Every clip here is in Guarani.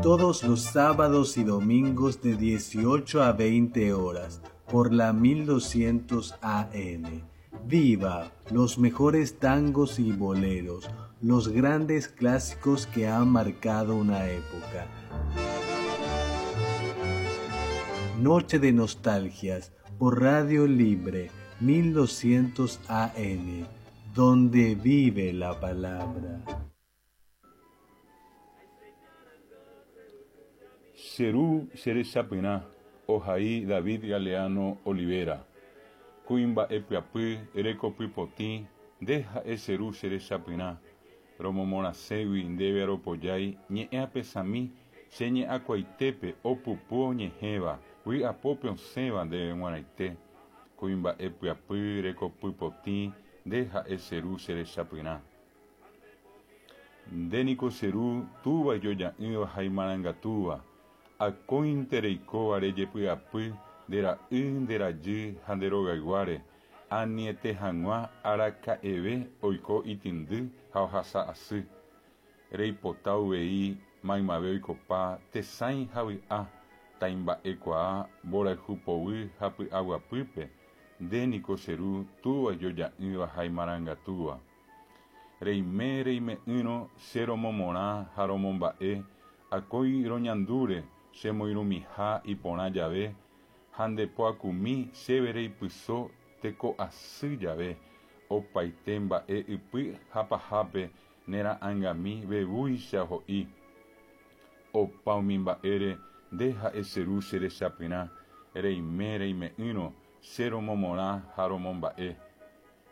Todos los sábados y domingos de 18 a 20 horas por la 1200 AM. Viva los mejores tangos y boleros, los grandes clásicos que han marcado una época. Noche de Nostalgias por Radio Libre 1200 AM, donde vive la palabra. Che ru che rechapyrã, ohai David Galeano Olivera. Kuimba'e pyapy, rekopy potĩ, nde ha'e che ru che rechapyrã. Romomorãségui ndéve aropojái ñe'ẽ apesami che ñe'ãkuaitépe opupu oñehẽva, vy'apópe osẽva ndéve g̃uarãite. Kuimba'e pyapy, rekopy potĩ, nde ha'e che ru che rechapyrã. Nde niko che Ru, Túva ijoja'ỹva ha imarangatúva, akóinte reikóva rejepy'apy nde ra'y, nde rajy ha nde rogayguáre, aniete hag̃ua araka'eve oiko itĩndy ha ohasa asy. Reipota uvei maymave oikopa tesãi ha vy'a, taimba'ekuaa mborayhu povy ha py'aguapýpe, nde niko che Ru, Túva ijoja'ỹva ha imarangatúva. Reime reime'ỹrõ che romomorã ha romomba'e, akói roñandúre che moirũmiha iporã jave, ha nde poakumi chéve reipyso teko asy jave, opaite mba'e ypy ha pahápe ne ra'ãngami vevúicha ho'i. Opa umi mba'ére nde ha'e che ru che rechapyrã, reime reime'ỹrõ che romomorã ha romomba'e.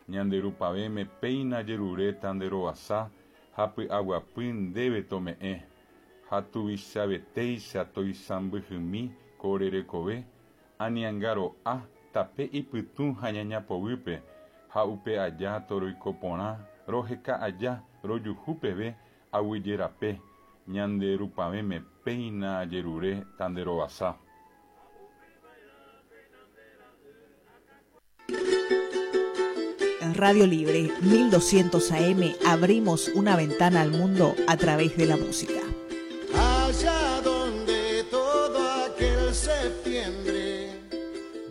Ñande Rupavẽme péina jeruréta nde rovasa ha py'aguapy ndéve tome'ẽ, ha tuvichavetéicha toisãmbyhymi ko ore rekove, aniangaro'a tape ipytũ ha ñaña poguýpe, ha upe aja toroiko porã roheka aja rojuhu peve aguyje rape, ñande Rupavẽme péina jerure ta nde rovasa. En Radio Libre 1200 AM abrimos una ventana al mundo a través de la música. Allá donde todo aquel septiembre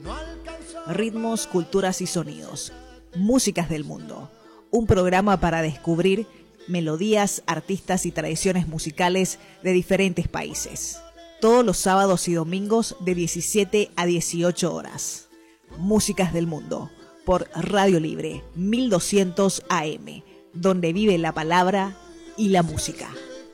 no alcanzó. Ritmos, culturas y sonidos. Músicas del mundo. Un programa para descubrir melodías, artistas y tradiciones musicales de diferentes países. Todos los sábados y domingos de 17 a 18 horas. Músicas del Mundo por Radio Libre 1200 AM, donde vive la palabra y la música.